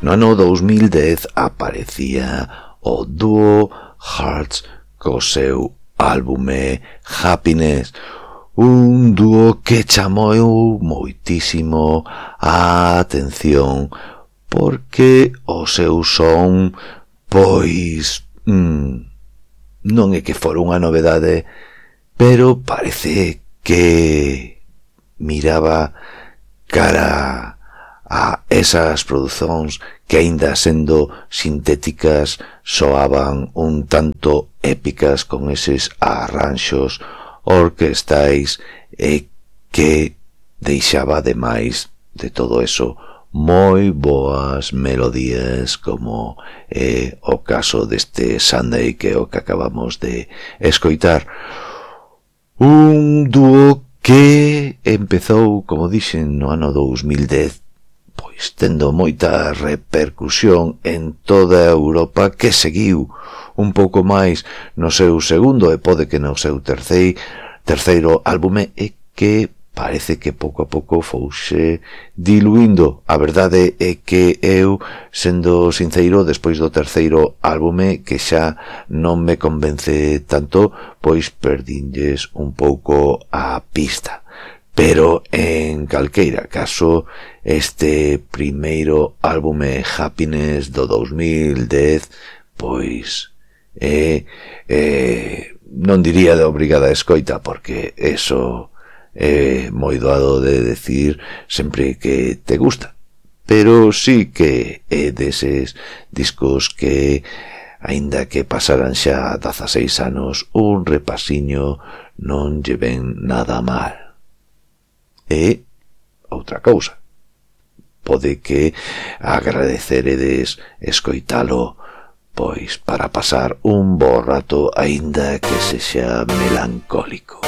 No ano 2010 aparecía o dúo Hearts co seu álbume Happiness, un dúo que chamou moitísimo a atención porque o seu son, pois, non é que fora unha novedade, pero parece que miraba cara a esas producións que, aínda sendo sintéticas, soaban un tanto épicas con eses arranxos orquestais e que deixaba, ademais de todo eso, moi boas melodías, como é o caso deste Sunday, que é o que acabamos de escoitar. Un dúo que empezou, como dixen, no ano 2010, pois tendo moita repercusión en toda Europa, que seguiu un pouco máis no seu segundo e pode que no seu terceiro álbume, e que parece que pouco a pouco fouse diluindo. A verdade é que eu, sendo sincero, despois do terceiro álbume, que xa non me convence tanto, pois perdinlles un pouco a pista. Pero, en calqueira caso, este primeiro álbume Happiness do 2010, pois, non diría de obrigada escoita, porque eso é moi doado de decir sempre que te gusta, pero sí que é deses discos que, aínda que pasaran xa 16 anos, un repasiño non lle ven nada mal. E outra cousa, pode que agradeceredes escoitalo, pois para pasar un bo rato, aínda que sexa melancólico.